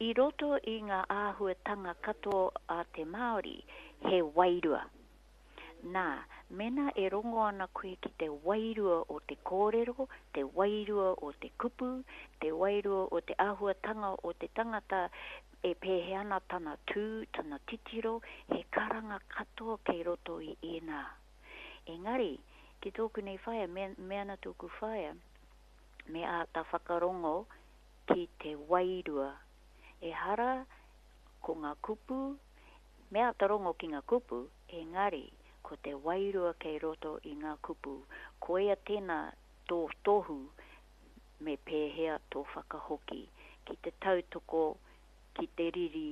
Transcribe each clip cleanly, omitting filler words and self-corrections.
I roto i ngā āhuatanga katoa a te Māori, he wairua. Nā, mēnā e rongo ana koe ki te wairua o te kōrero, te wairua o te kupu, te wairua o te āhuatanga o te tangata e pēhea ana tana tū, tana titiro, he karanga katoa kei roto i ēnā. Engari, ki tōku nei whaea, me, me ana tōku whaea, me āta whakarongo ki te wairua. Ehara ko ngā kupu, me āta rongo ki ngā kupu, engari ko te wairua kei roto i ngā kupu, koia tēnā tō tohu me pēhea tō whakahoki, ki te tautoko, ki te riri,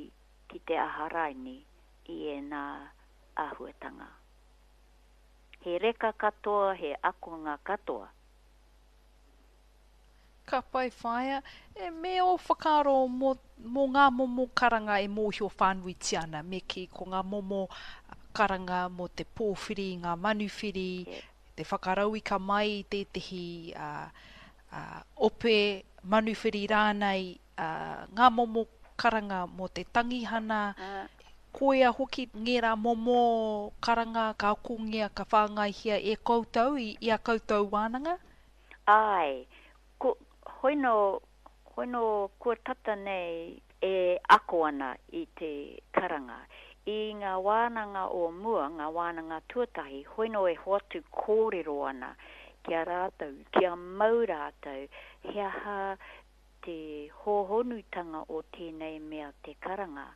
ki te aha raini i ēnā āhuatanga. He reka katoa, he akonga katoa. Ka pai whaea, e, me ō whakaaro mō, mō ngā momo karanga e mōhio whānuitia ana, me kī, ko ngā momo karanga mō te pōwhiri i ngā manuwhiri, te whakarauika mai i tētehi ope manuwhiri rānei, ngā momo karanga mō te tangihana, koia hoki ngērā momo karanga ka akongia, ka whāngaihia e koutou i, i a koutou wānanga? Āe, ko, hoino, hoino kua tata nei e ako ana i te karanga. I ngā wānanga o mua, ngā wānanga tuatahi, hoino e hoatu kōrero ana ki a rātou, kia mau rātou he aha te hōhonutanga o tēnei mea te karanga.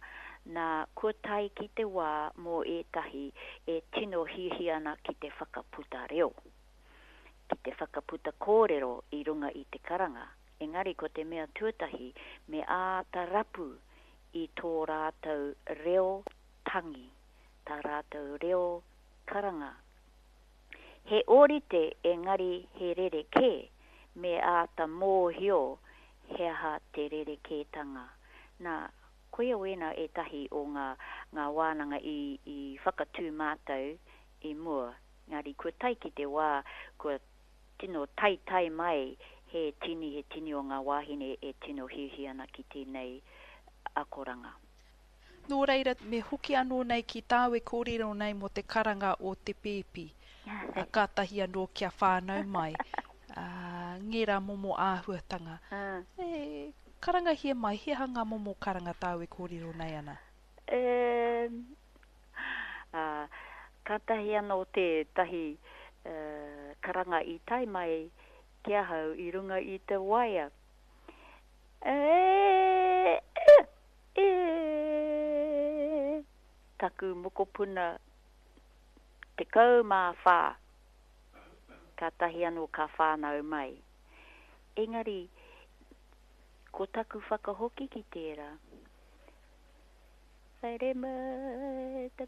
Nā, kua tae ki te wā mō ētahi e tino hiahia ana ki te whakaputa reo. ki te whakaputa kōrero i runga i te karanga, engari ko te mea tuatahi me āta rapu i tō rātou reo tangi, tā rātou reo karanga. He ōrite engari he rerekē, me āta mōhio he aha te rerekētanga. Nā, koia wēnā ētahi o ngā, ngā wānanga i, i whakatū mātou i mua. Engari kua tae ki te wā kua tino taetae mai he tini, he tini o ngā wāhine e tino hiahia ana ki tēnei akoranga. Nō reira, me hoki anō nei ki tāu e kōrero nei mō te karanga o te pēpi, kātahi anō kia whānau mai, ngērā momo āhuatanga. E, karangahia mai, he aha ngā momo karanga tāu e kōrero nei ana? E, Ā, kātahi anō tētahi karanga i tae mai ki ahau i runga i te waea, E, e, e, taku mokopuna 14, kātahi anō ka whānau mai. Engari, ko taku whakahoki ki tērā, Haere mai.